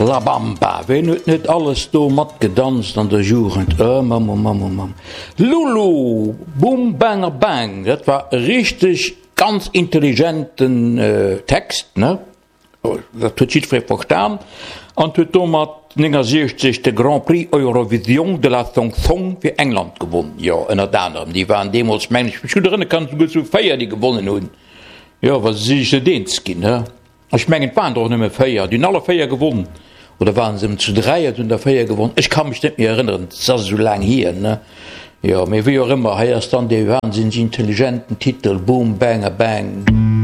La Bamba, ween huet net alles do matgedanzt an der Jugend? Oh Mamm, oh Mamm, oh Mamm. Lulu, Boom Bang a Bang, dat war e richteg ganz intelligenten Text, ne? Dat huet jiddweree verstan an huet domat 69 de Grand Prix Eurovision de la Chanson fir England gewonn. Jo, ënnert anerem, déi waren deemools, mengen ech mech gutt erënnere kann, souguer zu 4, déi gewonnen hunn. Jo, wa se sech net eens ginn, he. Ech mengen, et waren der och nëmme 4, déi hunn alle 4 gewonn. Oder waren se ëm zu 3 an hunn der 4 gewonn? Ech ka mech net méi erënneren, et ass esou laang hier, ne. Jo, mee wéi och ëmmer, hei ass dann dee wahnsinneg intelligenten Titel Boom Bang a Bang.